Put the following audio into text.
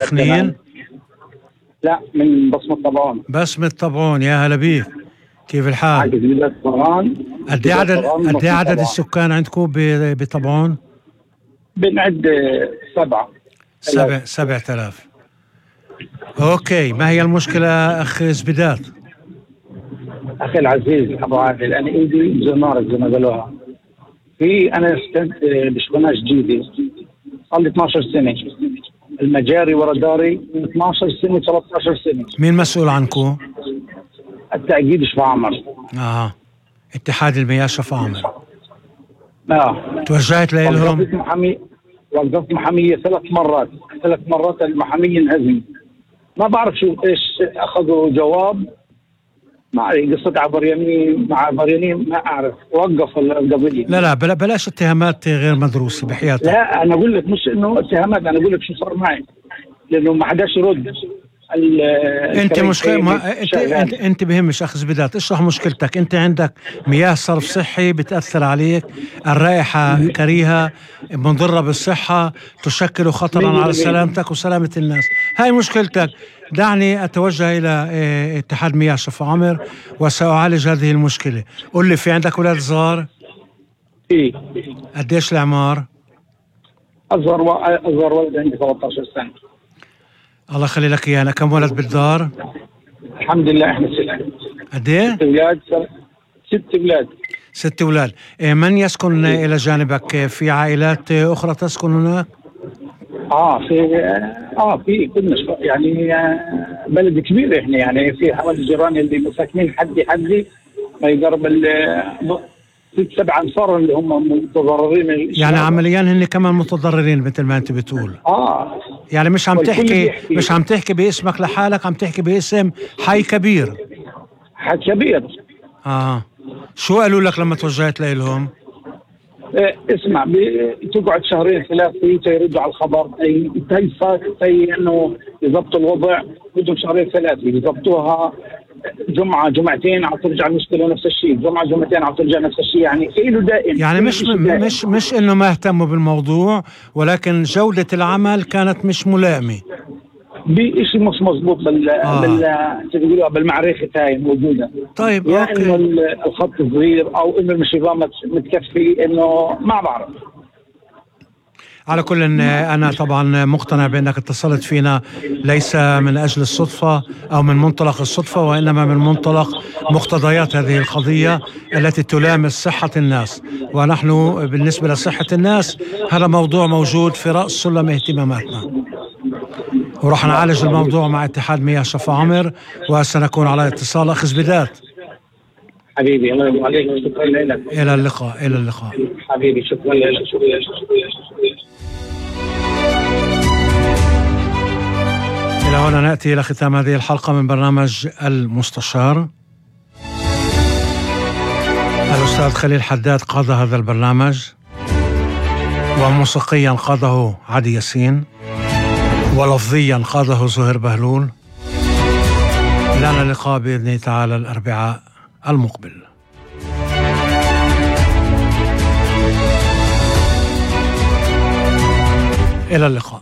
سخنين؟ لا، من بصمة طبعون. بسمة طبعون، يا هلا بيك، كيف الحال؟ عاجز بلاد طبعون. قد ايه عدد السكان عندكم بطبعون؟ بنعد 7,000. اوكي، ما هي المشكلة اخ زبيدات؟ اخي العزيز ابو عادل، انا ايدي زمارك زي ما قالوها. انا سكنت بشبناش جديدة، صار لي 12 سنة، المجاري ورا داري من 12 سنة 13 سنة. مين مسؤول عنكم؟ التأكيد شفا عمر. اتحاد المياه شفا عمر. توجهت لهم؟ وقفت محامية 3 مرات المحامية انهزم. ما بعرف شو ايش اخذوا جواب، ما أعرف قصة عبريانين مع عبريانين، ما أعرف، وقفوا القضية. لا بلاش اتهامات غير مدروسة بحياتك. لا أنا أقول لك مش إنه اتهامات، أنا أقول لك شو صار معي، لأنه ما حداش يرد. أنت أنت بهمش أخ زبيدات، اشرح مشكلتك. أنت عندك مياه صرف صحي بتأثر عليك، الرائحة كريهة مضرة بالصحة، تشكل خطرا على سلامتك وسلامة الناس، هاي مشكلتك. دعني أتوجه إلى اتحاد مياه شفا عمر وسأعالج هذه المشكلة. قل لي، في عندك أولاد صغار؟ إيه. قديش الأعمار؟ أصغر ولد عندي 13 سنة. الله يخلي لك إيانا. كم ولد بالدار؟ الحمد لله إحنا 6. قد إيه؟ 6 أولاد. 6 أولاد. من يسكن إلى جانبك؟ في عائلات أخرى تسكن هناك؟ في كلنا يعني بلد كبير احنا، يعني في حوالي الجيران اللي مساكنين حدي ما يقرب 6-7 أنصار اللي هم متضررين. يعني عمليا هن كمان متضررين مثل ما انت بتقول. يعني مش عم تحكي باسمك لحالك، عم تحكي باسم حي كبير. حي كبير. شو قالوا لك لما توجهت لهم؟ اسمع، تقعد 2-3 يردوا على الخبر، انه يضبطوا الوضع، بدهم 2-3 يضبطوها، جمعة جمعتين عم ترجع المشكلة نفس الشيء، جمعة جمعتين عم ترجع نفس الشيء، يعني إله دائم. يعني مش إنه ما اهتموا بالموضوع، ولكن جودة العمل كانت مش ملائمة، بشيء مش مضبوط بالمعرفة هاي موجودة. طيب يعني إنه الخط صغير أو إنه المشيبة متكفي، إنه ما بعرف. على كل أنا طبعا مقتنع بأنك اتصلت فينا ليس من أجل الصدفة أو من منطلق الصدفة، وإنما من منطلق مقتضيات هذه القضية التي تلامس صحة الناس، ونحن بالنسبة لصحة الناس هذا موضوع موجود في رأس سلم اهتماماتنا، وراح نعالج الموضوع مع اتحاد مياه شفا عمر، وسنكون على اتصال. أخ زبيدات حبيبي، الله يرضى عليك، شكرا لك. إلى اللقاء حبيبي، شكرا لك. إلى هنا نأتي إلى ختام هذه الحلقة من برنامج المستشار. الأستاذ خليل حداد قاد هذا البرنامج، وموسيقيا قاده عدي ياسين، ولفظيا قاده زهير بهلول. لنا لقاء بإذن الله تعالى الأربعاء المقبل. إلى اللقاء.